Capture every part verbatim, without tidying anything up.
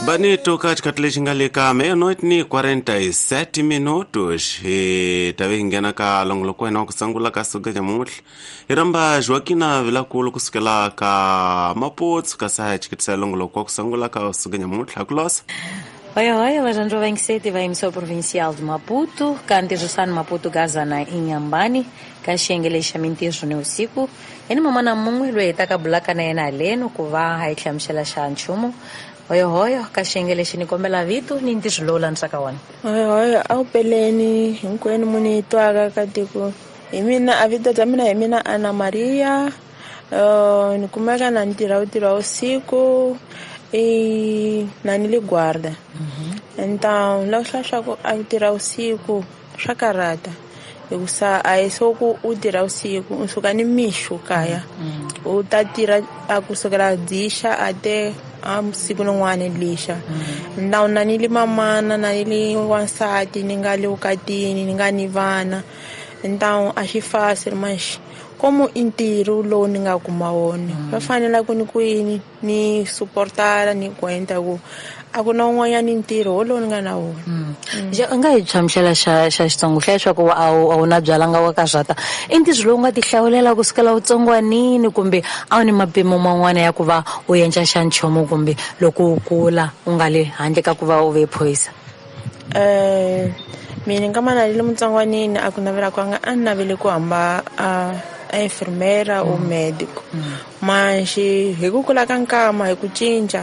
Banito katikati lexi nga le ka meia-noite ni quarenta e sete minutos hi ta ve hi nghena ka longoloko wa hina wa ku sungula ka suka nyamuntlha hi rhamba Joaquina Vilakulu kusukela ka Maputo kasi a hi chiketisa longoloko wa ku sungula ka suka nyamuntlha ku losa. Oi, oi, Alejandro Vencete va emissora provincial de Maputo, kantirhisano Maputo Gazana Inhambane, ka xiyenge xa mintirho ni vusiku. Eni mamana mun'we loyi hi taka bulaka na yena haleno ku va hi hlamusela xa nchumu. Oi, oi, ka xiyenge lexi ni kombela vito ni ntirho lowu landzaka wona. Oi, oi, a wu peleni hinkwenu mu ni twaka ka tiko. Hi mina a vito bya mina hi mina Ana Maria. Uh, ni kumeka na ntirho wu tirha vusiku. E na ni le guarda. Então, loko swa swa ku a tirha vusiku swa karhata. Hikusa a hi swo ku u tirha vusiku u suka ni mixo kaya. U ta tirha a kusukela dzixa a te a siku rin'wana lixa. Então na ni le mamana na ni le wansati ni nga le vukatini ni nga ni vana. Então a xi fácil mas como i ntirho lowu ni nga kuma wona va fanele ku ni ku yini ni suportara ni ku ku a ku na un'wanyana ntirho wolowo ni nga na wona. Ja u nga hi hlamusela xa xa Xitsongo hlaya leswaku a wu a wu na byalanga wa karhata i ntirho lowu nga ti hlawulela kusukela utsongwanini kumbe a wu ni mapimo man'wana ya ku va u endla xa nchumu kumbe loko u kula u nga le handle ka ku va u ve phorisa? Eh mina nga mana le mutsongwanini a ku navela kwanga a ni navele ku hamba a a enfermeira ou médico. Mas hi ku kula ka nkama hi ku cinca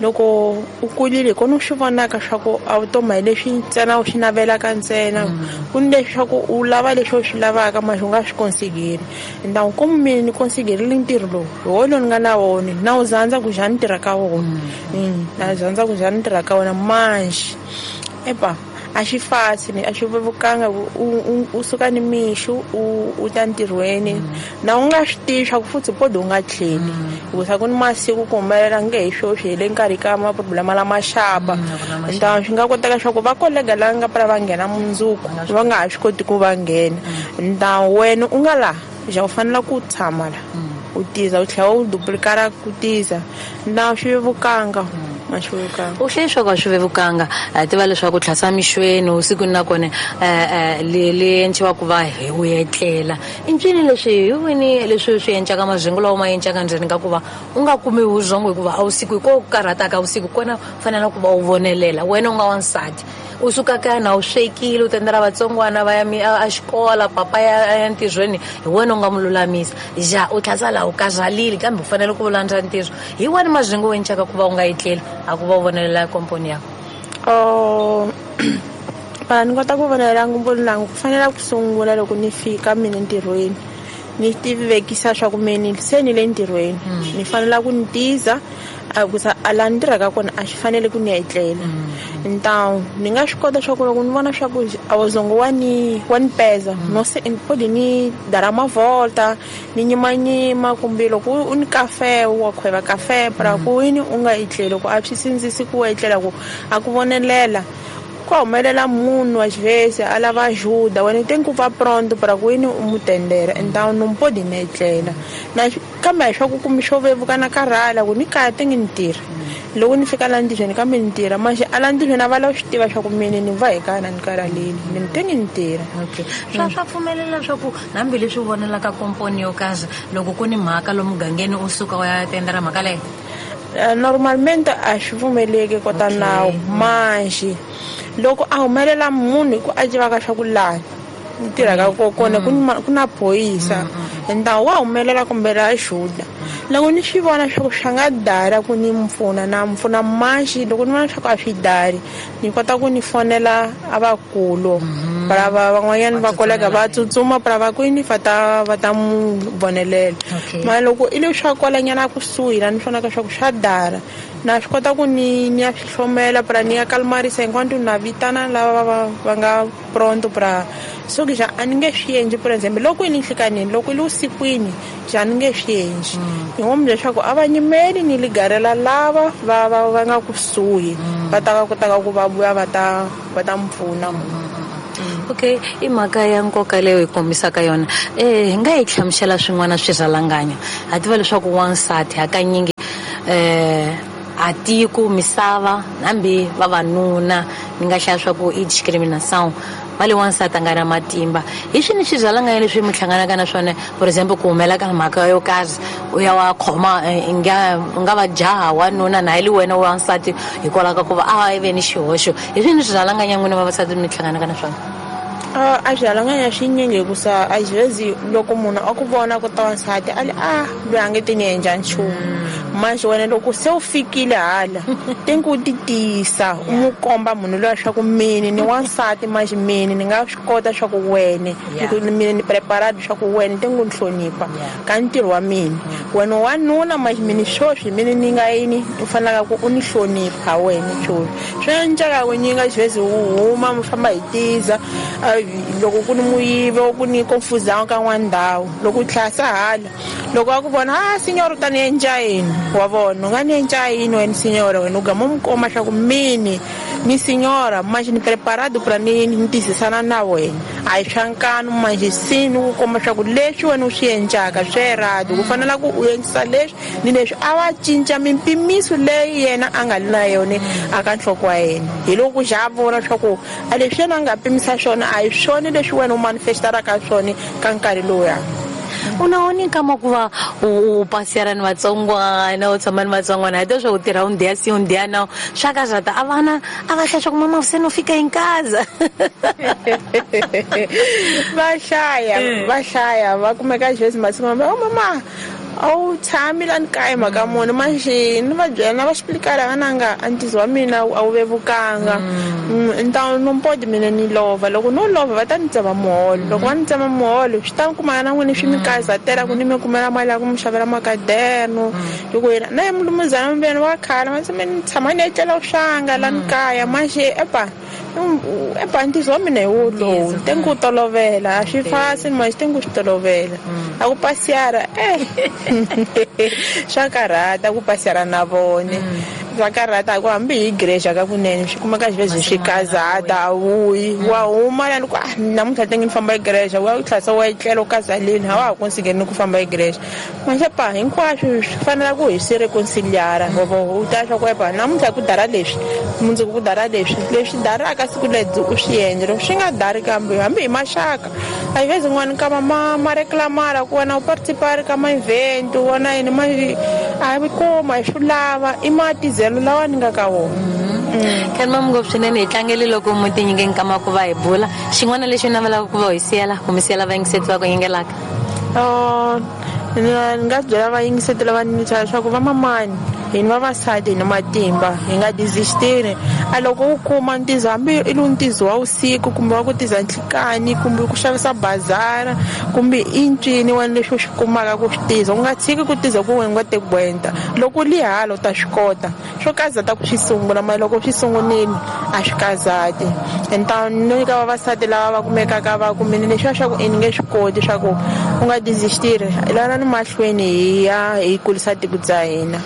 loko u kulile kona u swi vonaka swa ku a wu toma hi leswi ntsena u swi navelaka ntsena ku ni leswi swa ku u lava leswi u swi lavaka mas u nga swi konsigeri. Então como mina ni konsigerile ntirho lowu hi wona lowu ni nga na wona na wu zandza ku njhani ni tirha ka wona na zandza ku njhani ni tirha ka wona mas epa a xi fácil a xi vevukanga u u suka ni mixo u u ta ntirhweni na u nga swi tivi swa ku futhi podi u nga tlheli hikusa ku ni masiku ku humelela nge hi sweswi hi le nkarhi ka maproblema lama xapa. Então swi nga koteka swa ku va kolega lava nga pfala va nghena mundzuku va nga ha swi koti ku va nghena. Então wena u nga laha ja u fanele ku tshama la u tiza u tlhela u duplicara ku tiza na swi vevukanga. U hlaya leswaku a swi vevukanga hi tiva leswaku tlhasa mixweni usiku na kona le le endliwa ku va hi u etlela i ncini leswi hi wini leswi swi endlaka mazhingo lawa ma endlaka ndzeni ka ku va u nga kumi vurhongo hikuva a vusiku hi ko karhataka vusiku kona fanele ku va u vonelela wena u nga wansati u suka kaya na u swekile u tendela vatsongwana va ya a xikola papa ya ya ntirhweni hi wena u nga mu lulamisa ja u tlhasa laha u karhalile kambe u fanele ku landza ntirho hi wani mazhingo u endlaka ku va u nga etleli a ku va u vonelela komponi ya oh para ni kota ku vonelela ngomponi langu ku fanele ku sungula loko ni fika mina ntirhweni ni tivekisa swa ku mina se ni le ntirhweni ni fanele ku ni tiza a ku sa a la ni tirhaka kona a xi fanele ku ni etlela. Então ni nga swi kota swa ku loko ni vona swa ku a wuzongo wa ni wa ni peza no se podi ni dar uma volta ni nyimanyima kumbe loko u ni kafe wa khweva kafe para ku yini u nga etleli ku a swi sindzisi ku etlela ku a ku vonelela ku humelela munhu às vezes a lava ajuda wena tem ku va pronto para ku yini u mu tendera. Então não pode ni etlela na kambe swa ku kumbe xo vevuka na karhala ku ni kaya te ngi ni tirha loko ni fika la ntirhweni kambe ni tirha mas a la ntirhweni a va lava swi tiva swa ku mina ni va hi kaya na ni karhalile ni te ngi ni tirha. Okay swa swa pfumelela swa ku hambileswi u vonelaka komponi yo karhi loko ku ni mhaka lomu mugangeni u suka u ya tendera mhaka leyo? Normalmente a swi pfumeleki kota nawu mas loko a humelela munhu hi ku a tivaka swa ku laha ni tirhaka kona ku ku na phorisa então wa humelela kumbe la ajuda loko ni swi vona swa ku swi nga dara ku ni mpfuna na mpfuna mas loko ni vona swa ku a swi dari ni kota ku ni fonela a vakulu para va van'wanyana va kolega va tsutsuma para va ku ni va ta va ta mu vonelela mara loko i le swa kwalanyana kusuhi la ni vonaka swa ku swa dara na swi kota ku ni ni ya swi hlomela para ni ya kalmarisa enquanto na vitana lava va va nga pronto para so ke ja a ni nge swi endli por exemple loko i ni nhlikanini loko i le vusikwini ja ni nge swi endli hi ngo leswaku a va nyimeli ni ligarela lava va va va nga kusuhi va ta va kotaka ku va vuya va ta va ta mpfuna. Okay i mhaka ya nkoka leyo hi kombisaka yona eh hi nga yi hlamusela swin'wana swirhalanganyo ha tiva leswaku wansati hakanyingi eh a tiko misava hambi vavanuna ni nga hlaya swa ku i discrimination va le wansati a nga na matimba hi swini swirhalanganya leswi mi hlanganaka na swona for example ku humela ka mhaka yo karhi u ya wa khoma i nga u nga va jaha wanuna na hi le wena wansati hikwalaho ka ku va a ve ni xihoxo hi swini swirhalanganya n'wina vavasati mi hlanganaka na swona. A swirhalanganya swinyingi hikusa a xivezi loko munhu a ku vona ku ta wansati a li a loyi a nge ti ni endla nchumu manje wena loko se u fikile hala tengi u ti tiyisa u n'wi komba munhu loyi swa ku mini ni wansati manje mini ni nga swi kota swa ku wene mini ni preparado swa ku wene tengi u ni hlonipha ka ntirho wa mina wena wanuna manje mini swoswi mini ni nga yini u fanelaka ku u ni hlonipha wena swoswi swi endleka ku nyinga xivezi u huma mi famba hi tiza loko ku ni muyivi ku ni confusão ka n'wana ndhawu loko u tlhasa hala loko a ku vona a signor u ta ni endla yini wa vona u nga ni endla yini wena signora wena u gama u mi komba swa ku mini ni signora manje ni preparado pra ni ni tiyisisana na wena a hi swa nkanu manje si ni ku komba swa ku leswi wena u swi endlaka swi erado ku fanela ku u endlisa leswi ni leswi a va cinca mimpimiso leyi yena a nga li na yona a ka nhloko wa yena hi loko ku xa vona swa ku a leswi yena a nga pimisa swona a hi swona leswi wena u manifestaraka swona ka nkarhi lowuya. U na wona nkama ku va u pasiyara ni vatsongwana u tshama ni vatsongwana hi leswaku u tirha un dia si un dia na swa ka zata a vana a va hlaya swa ku mama se no fika hi nkaza va hlaya va hlaya va kumeka xivezi masiku mambe o mama a wu tshami la ni kaya mhaka muni manje ni va byela na va xiplikala vananga a ntizo wa mina a wu vevukanga ni ta no mpodi mina ni lova loko no lova va ta ni tsema muholo loko va ni tsema muholo swi ta kumana na n'wini swi mi kazatela ku ni mi kumela mali ya ku mi xavela makaderno loko yena na ye mulumuzana mbuyeni wa khala ma tshame ni tshama ni etlela swanga la ni kaya manje epa epa ntizo wa mina hi wo lowu tengi ku tolovela a swi fasi manje tengi ku swi tolovela a ku pasiyara eh swa karhata ku pasiyara na vone swa karhata ku hambi hi igreja ka kunene swi kumeka xivezi swi kazata a wuyi wa huma lani ku ah namuntlha tengi ni famba igreja wa u tlhasa wa etlela u kazaleni a wa ha konsigeni ku famba igreja manje pa hinkwaswo swi fanela ku hi swi reconciliara u ta swa ku epa namuntlha ku dara leswi mundzuku ku dara leswi leswi daraka siku lebyi u swi endla loko swi nga dari kambe hambi hi maxaka a hi vezi n'wana nkama ma ma reclamara ku wena u participari ka ma-event wona yini ma a hi kuma hi swi lava i matizelo lawa ni nga ka wona. Khan mam ngopfu swinene hi tlangele loko mu ti nyike nkama ku va hi bula xin'wana lexi u navelaka ku va hi siyela ku mi siyela vayingiseti va ku yingelaka. Ni nga byela vayingiseti lava ni leswaku vamamani hina vavasati hi na matimba hi nga desistini a loko u kuma ntizo hambi i lu ntizo wa vusiku kumbe wa ku tiza nhlikani kumbe ku xavisa bazara kumbe i ncini wena leswi u swi kumaka ku swi tiza u nga tshiki ku tiza ku wena u nga tekwenta loko u li hala u ta swi kota swo kazata ku swi sungula mara loko swi sungunile a swi kazati enta ni nyika vavasati lava va kumekaka va kumile leswiya swa ku i ni nge swi koti swa ku u nga desistiri lana ni mahlweni hi ya hi kulisa tiko bya hina.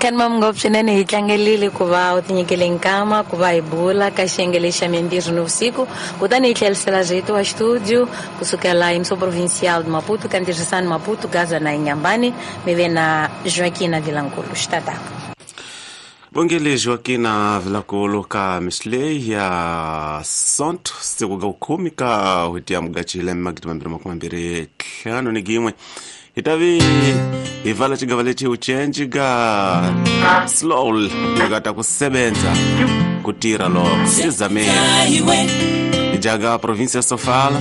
Khan mam ngopfu swinene hi tlangelile ku va u tinyikele nkama ku va hi bula ka xiyenge lexi xa mintirho nivusiku kutani hi tlherisela rito wa xitudio kusukela emissão provincial de Maputo ka ntirhisano Maputo Gaza na Inhambane mi ve na Joaquina Vilankulu xitata. Bongele Joaquina Vilankulu ka mixleyi ya Sonto siku ga khume ka n'hweti ya Mudyaxihi magidi mambirhi makume mambirhi ntlhanu ni yin'we hi ta vi hi vala xigava lexi u cenci ka slow hi nga ta ku sebenza ku tirha loko xi zameni hi jaga provinsia Sofala.